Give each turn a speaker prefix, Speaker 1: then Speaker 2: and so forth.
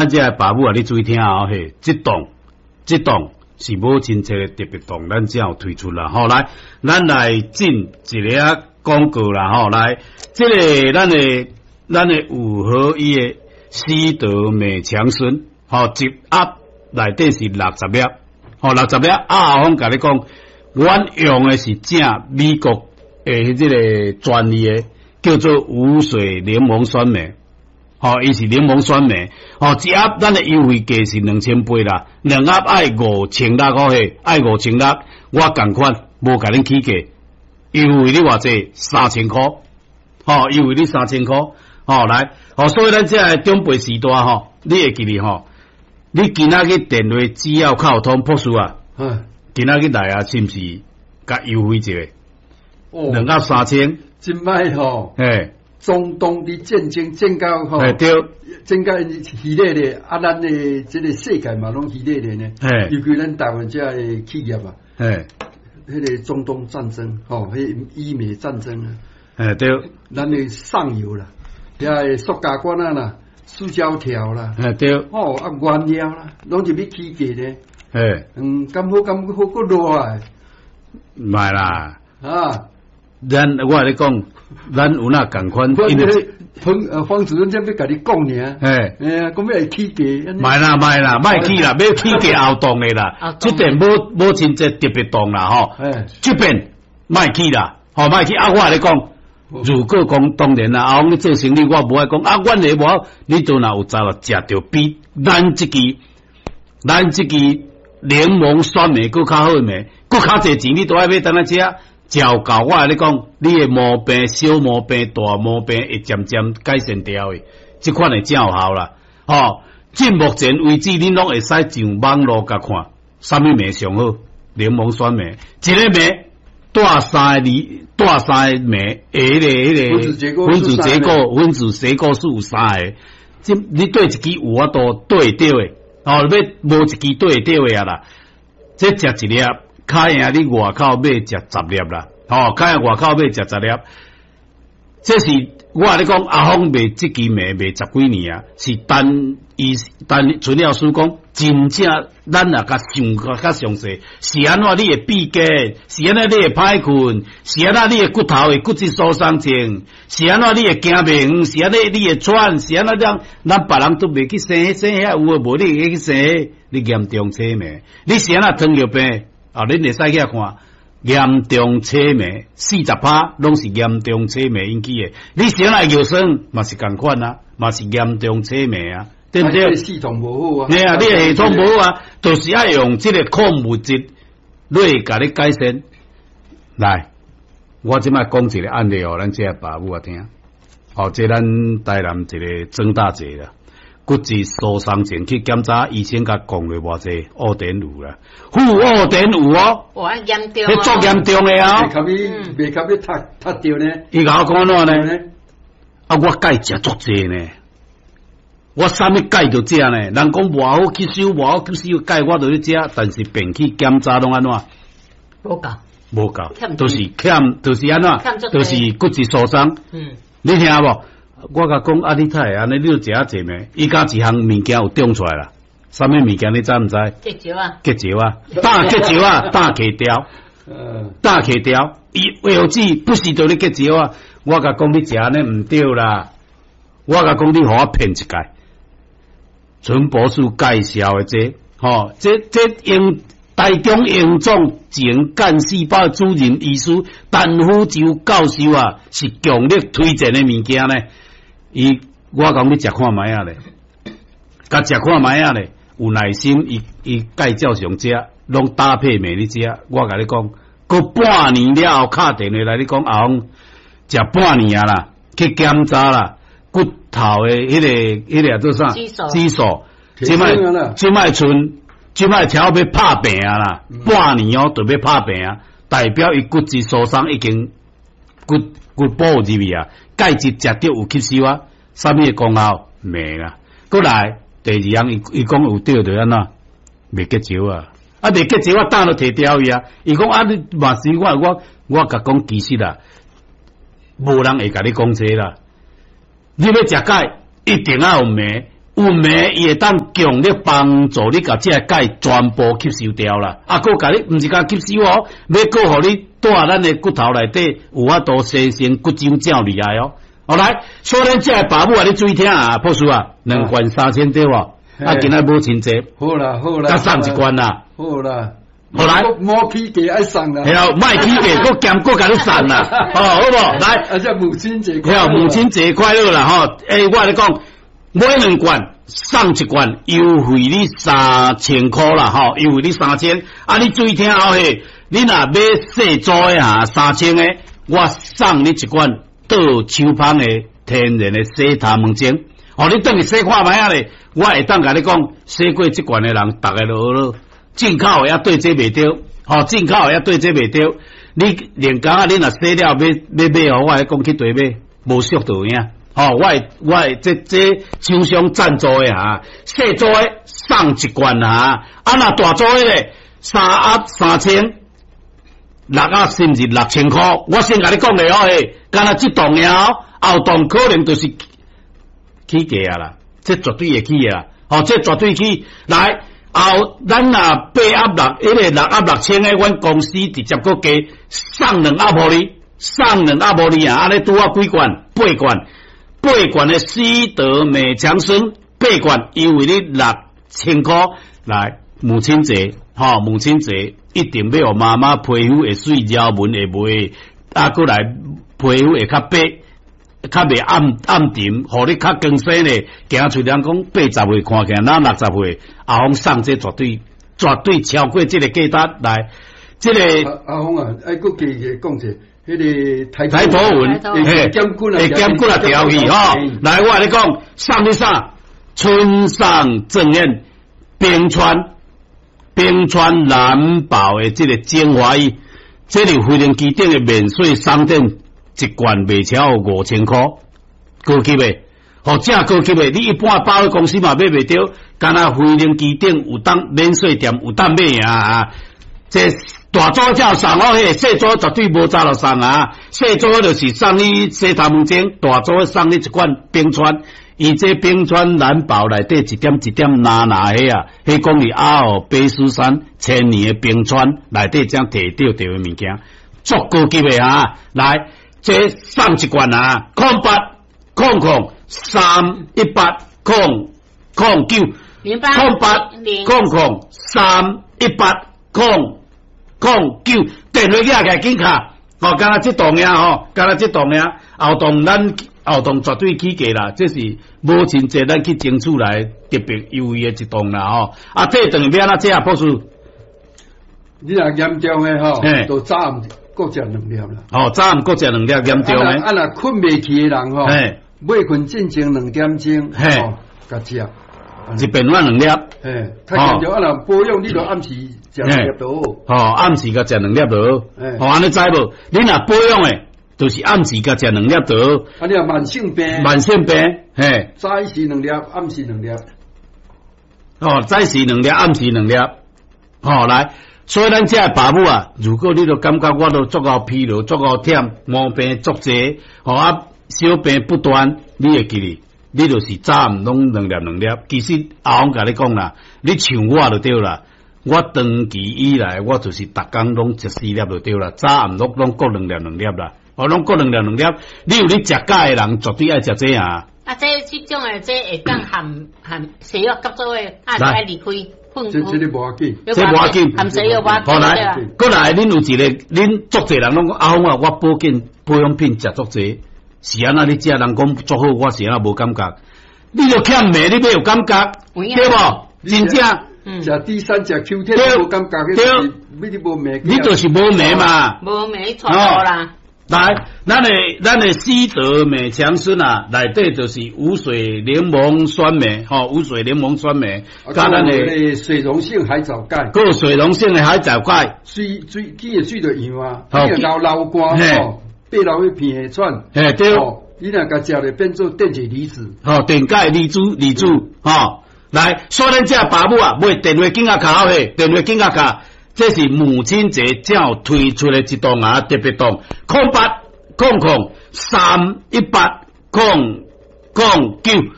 Speaker 1: 這个爸母啊，你注意聽哦，嘿，這檔這檔是母親節的特別檔，咱才有推出啦。吼，來，咱來進一个廣告啦，吼，來，這个咱的有好伊的西德美強生，吼，一盒內底是60粒，吼，六十粒。啊，阿峰共你講，阮用的是正美國的這个專利的，叫做無水檸檬酸鎂。吼，伊是檸檬酸鎂，吼，一盒咱的優惠價是2800啦，兩盒愛5600箍嘿，愛5600，我仝款無共恁起價，優惠你偌濟？3000箍，吼，優惠你三千箍，吼，來，吼，所以咱這个長輩時代吼，你會記得吼，你今仔日電話只要敲通博士啊，今仔日來啊，是毋是共優惠一下？兩盒3000，
Speaker 2: 這擺吼，
Speaker 1: 嘿。
Speaker 2: 中東的戰爭戰到吼，
Speaker 1: 對，
Speaker 2: 戰到熱烈咧，啊，咱的這个世界嘛攏熱烈咧呢。尤其咱台灣這个企業啊，彼个中東戰爭吼，彼以美戰爭啊，咱的上游啦，遐个塑膠管仔啦，塑膠條啦，吼啊原料啦，攏入去起價咧。敢好敢好閣落來？
Speaker 1: 毋啦，
Speaker 2: 啊。
Speaker 1: 咱我共你講，咱有哪仝款？因為
Speaker 2: 方主任這欲共你講爾，哎，講欲會起價？
Speaker 1: 莫啦莫啦，莫起啦，欲起價後檔的啦。這邊母親節特別檔啦，吼。這邊莫起啦，吼莫起。啊，我共你講，如果講當然啦，阿你做生意，我無愛講啊，阮的無好，你都若有才食著比咱這支檸檬酸鎂閣較好的鎂，閣較濟錢，你都愛買當來食。照夠我共你講，你的毛病、小毛病、大毛病會漸漸改善掉的，這款會真有效啦。吼，至目前為止，恁攏會使上網路共看，啥物鎂上好？檸檬酸鎂，一个鎂帶三個字，帶三個鎂，彼个分子結構數有三个，這你對一支有法度對著的，哦，欲無一支對著的啊啦，這食一粒。較贏你外口買食十粒啦，吼，較贏外口買食十粒。這是我共你講，阿峰賣這支糜賣十幾年啊，是陳醫陳陳老師講，真正咱若共想較詳細，是按怎你會閉結，是按怎你會歹睏，是按怎你的骨頭會骨質疏鬆症，是按怎你會行袂遠，是按怎你會喘，是按怎樣，咱別人都袂去生生遐有的無，你會去生，你嚴重痴迷，你是按怎糖尿病？啊！恁會使去看嚴重痴迷，40%攏是嚴重痴迷引起的。你先來尿酸嘛是仝款啊，嘛是嚴重痴迷啊，對毋對？
Speaker 2: 系統無好啊，
Speaker 1: 對啊，你的系統無好啊，就是愛用這個礦物質來共你改善。來，我這擺講一個案例予咱這个爸母仔聽。哦，這咱台南一个曾大姐啦。骨質疏鬆症去檢查，醫生共講了偌濟，烏電有啦，負二點五哦，
Speaker 3: 哇，嚴重，
Speaker 1: 彼足嚴重的啊，
Speaker 2: 袂及你，袂及你踢踢著呢？
Speaker 1: 伊共我講按怎呢？啊，我鈣食足濟呢，我啥物鈣都食呢？人講偌好吸收，偌好吸收鈣，我都咧食，但是病去檢查攏按怎？
Speaker 3: 無夠，
Speaker 1: 無夠，都是欠，就是按怎？就是骨質疏鬆。你聽無？我共講啊，你太會按呢，你著食啊濟糜？伊敢一項物件有長出來啦？啥物物件你知毋知？
Speaker 3: 結石啊！
Speaker 1: 結石啊！膽結石啊！膽結掉，膽結掉。伊藥劑不是著咧結石啊！我共講你食按呢毋對啦！我共講你予我騙一屆。陳博士介紹的這，吼，這用台中榮總前幹細胞主任醫師陳福洲教授啊，是強力推薦的物件呢。伊我講你食看覓仔咧，共食看覓仔咧，有耐心，伊伊介照常食，攏搭配糜咧食。我共你講，過半年了後，敲電話來，你講阿峰食半年啊啦，去檢查啦，骨頭的彼个做啥？指數，這擺賰，這擺超欲拍病啊啦，半年哦，就欲拍病啊，代表伊骨質疏鬆已經骨骨補入去啊。鈣質食著有吸收啊，啥物的功效？糜啦。閣來第二項，伊伊講有對就按怎？袂結石啊！啊，袂結石，我膽都提掉去啊！伊講啊，你嘛是我我我共講，其實啊，無人會共你講這啦。你欲食鈣，一定愛有糜，有镁伊會當強力幫助你共這个鈣全部吸收掉啦。啊，閣共你毋是共吸收哦，欲閣予你蹛咱的骨頭內底有法度生成骨漿正厲害哦。好來，所以咱這个爸母啊，你注意聽啊，博士啊，兩罐3000對無？啊，今仔母親節，
Speaker 2: 好啦好啦，
Speaker 1: 閣送一罐啦。
Speaker 2: 好啦，
Speaker 1: 好來，
Speaker 2: 莫起價愛送啦，
Speaker 1: 係啊，莫起價，閣兼閣共你送啦，哦，好無？來，
Speaker 2: 啊，這母親節，
Speaker 1: 係母親節快樂啦，吼！欸，我共你講，買兩罐送一罐，優惠你3000箍啦，吼，優惠你三千。啊，你注意聽哦，嘿，你若買細組的哈，三千的，我送你一罐倒手芳的天然的洗頭毛精。哦，你轉去洗看覓仔咧，我會當共你講，洗過這罐的人，逐个都學進口的也對這袂著，吼，進口的也對這袂著。你連工仔，你若洗了欲欲買予我，講去綴買，無俗就有影。吼，我會這廠商贊助的哈，細組的送一罐哈，啊若大組的咧，三盒3000，六盒是毋是6000箍？我先共你講咧哦，嘿，干焦這檔爾哦，後檔可能就是起價啊啦，這絕對會起啊，吼，這絕對起。來，後咱若八盒六，彼个六盒6000的，阮公司直接閣加送兩盒予你，送兩盒予你啊！按呢拄好幾罐？八罐，八罐的斯德美強生，八罐優惠你6000箍。來，母親節，吼，母親節一定欲予媽媽皮膚會媠，條紋會袂，啊，閣來皮膚會較白，較袂暗暗沉，予你較更生咧。行出人講80歲看起來若60歲，阿峰送這絕對絕對超過這个價值來。這个
Speaker 2: 阿峰啊，愛閣加一个講者，彼个
Speaker 1: 台頭紋，
Speaker 2: 會減骨啊，
Speaker 1: 會減骨啊調去吼。來，我共你講，送你啥？村上正彥冰川冰川藍寶的這个精華液，這是飛行機頂的免稅商店，一罐賣超過5000箍，高級的，吼，正高級的，你一般百貨公司嘛買袂著，干焦飛行機頂有當免稅店有當買啊！這大組才有送哦，彼个細組絕對無早就送啊！細組就是送你洗頭毛精，大組送你一罐冰川。伊這冰川藍寶內底一點一點藍藍彼啊，彼講是阿爾卑斯山千年的冰川內底才提著著的物件，足高級的啊！來，這送一罐啊，0800318009，0800318009，電話寄來緊敲，哦，干焦這檔爾吼，干焦這檔爾，後檔咱後檔絕對起價啦，這是母親節咱去爭取來特別優惠的一檔啦吼。啊，這頓欲按怎食啊，博士？
Speaker 2: 你若嚴重的吼，就早暗閣食兩粒啦。
Speaker 1: 哦，早暗閣食兩粒嚴重的。
Speaker 2: 啊，若睏袂去的人吼，欲睏進前2點鐘，吼，共食。
Speaker 1: 一遍碗兩粒。
Speaker 2: 嘿，較嚴重啊！若保養，你就暗時食兩粒就好。
Speaker 1: 吼，暗時共食兩粒就好。吼，按呢知無？你若保養的，就是暗時共食兩粒就好。
Speaker 2: 啊，你若慢性病，
Speaker 1: 慢性病，嘿，
Speaker 2: 早時兩粒，暗時兩粒。
Speaker 1: 哦，早時兩粒，暗時兩粒。吼，來，所以咱這个爸母啊，如果你都感覺我都足夠疲勞，足夠忝，毛病足濟，吼啊，小病不斷，你會記得，你就是早暗攏兩粒兩粒。其實阿峰共你講啦，你像我就對啦。我長期以來，我就是逐工攏食四粒就對啦，早暗攏攏各兩粒兩粒啦。哦，攏各兩粒兩粒。你有咧食鈣的人，絕對愛食這啊。
Speaker 3: 啊，這這種的這會當含含西藥合做的，啊，就愛離開。
Speaker 2: 這這個無要緊，
Speaker 1: 這無要緊，
Speaker 3: 含西藥無要緊。
Speaker 1: 好來，閣來，恁有一个，恁足濟人攏講阿峰啊，我保健保養品食足濟，是按怎你食人講足好，我是按怎無感覺？你著欠鎂，你欲有感覺，對無？真正
Speaker 2: 食 D 三食 Q 天無感覺，對，你無鎂，
Speaker 1: 你就是無鎂嘛，
Speaker 3: 無鎂錯啦。
Speaker 1: 來，咱的斯德美強生啊，內底就是無水檸檬酸鎂，吼，無水檸檬酸鎂，佮咱的
Speaker 2: 水溶性海藻鈣，
Speaker 1: 閣水溶性的海藻鈣，
Speaker 2: 水水起的水就溶啊，你若流流汗吼，爬落去鼻喘，
Speaker 1: 嘿對，
Speaker 2: 你若共食咧變做電解離子，
Speaker 1: 吼，電解離子離子，吼，來，所以咱這爸母啊，買電話緊仔敲嘿，電話緊仔敲。這是母親節才推出的一檔啊，特別檔，0800318009，0800。